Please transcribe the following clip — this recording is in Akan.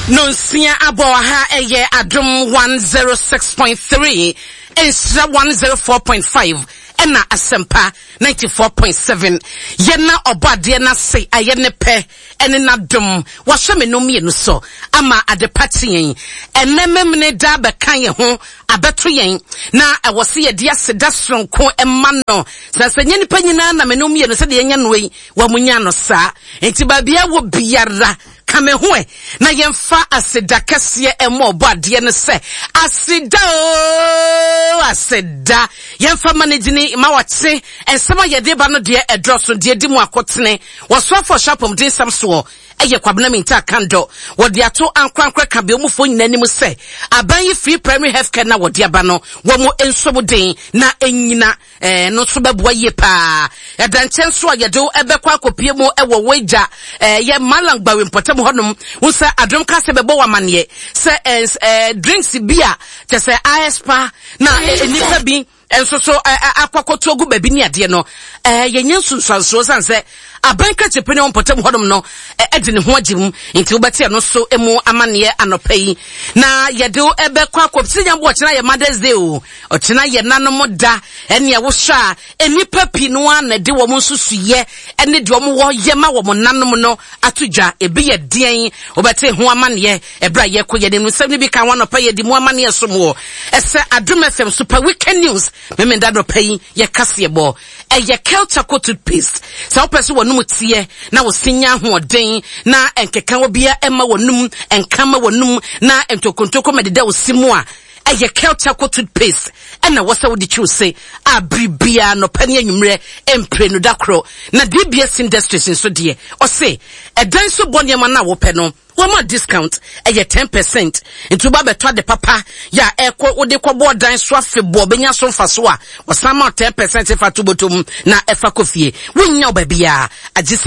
Nonsia abɔ ha ɛyɛ Adom 106.3, Nhyira 104.5 ɛna Asɛmpa 94.7. Yɛna ɔbɔ adeɛ n'ase ayɛ ne pɛ ɛne n'adom wahyɛ me no mmienu so ama adepa kye yɛn. Ɛnɛ memene da bɛka yɛn ho abɛto yɛn na ɛwɔ se yɛde aseda soronko ɛma no. Sɛ sɛ nyɛ nipa nyinaa na me no mmienu sɛdeɛ yɛnya no yi wɔn nya no saa. Nti baabi a wɔ biara ka me ho ɛ na yɛmfa aseda kɛseɛ ɛmɔ ɔbɔ adeɛ no sɛ aseda o aseda yɛmfa ma no gyini ma wɔkye nsɛm a yɛde ba no deɛ ɛdɔɔso deɛ di mu akotene wɔsoafoɔ hyɛ apɔmuden nsɛm soɔ ɛyɛ Kwabena Mintah Kandɔ wɔde ato ankorankora ka beomufoɔ nyinaa anim sɛ aban yi free primary health care na wɔde aba no wɔn nso den na ɛnyina Ɛno nso bɛboa yie paa. Ɛda nkyɛn nso a yɛde wo bɛkɔ akɔpie mu wɔ w'agya yɛ Malang Gbawe mpɔtam hɔnom. Wo sɛ adom ka sɛ bɛbɔ wo amaneɛ sɛ drinks bi a kyɛ sɛ aɛspa na nnipa bi nso so akɔ akɔto agu baabi ne adeɛ no yɛnyɛ nsunsuansoɔ sane sɛ aban krakyepɛ ne mpɔtam hɔnom no de ne ho agye mu nti wobɛte ɛno so mu amaneɛ anɔpa yi na yɛde wo bɛkɔ akɔ sɛ nyambo ɔkyena yɛ Mother's Day o Ɔkyena yɛ nanom da. Ɛnea wohwɛ a, nnipa pii no ara na ɛde wɔn nsusuiɛ ne deɛ wɔwɔ yɛ ma wɔn nanom no ato dwa. Ebi yɛ deɛn? Wobɛte ho amanneɛ ɛberɛ a yɛkɔ yɛn anim. Nsɛm no bi ka ho anɔpa yi, yɛde mu amanneɛ som wɔ ɛsɛ Adom FM Super Weekend News. Memenda anɔpa yi yɛ kaseɛbɔ. Ɛyɛ Kel Charcoal Toothpaste. Sɛ wopɛ sɛ w'anom teɛ na wo se nya ahoɔden na nkekawa biara mma w'anom, nka mma w'anom na ntokontoko mmɛdeda wo se mu a, Ɛyɛ Kel Charcoal Toothpaste na ɛwɔ sɛ wode twi wo se a bere biara anɔpa ne anwummerɛ mprenu da koro. Na DBS Industries nso deɛ, ɔse ɛdan so bɔ nneɛma no a wopɛ no, wɔma discount, ɛyɛ 10%. Nti woba bɛtɔ ade papa yɛ a ɛkɔ wode kɔbɔ ɔdan so afebɔɔ bɛnya so mfaso a, wɔsan ma wo 10% fa to bɔtɔ mu na ɛfa kɔ fie. Wonnya wo baabiara agye sɛ.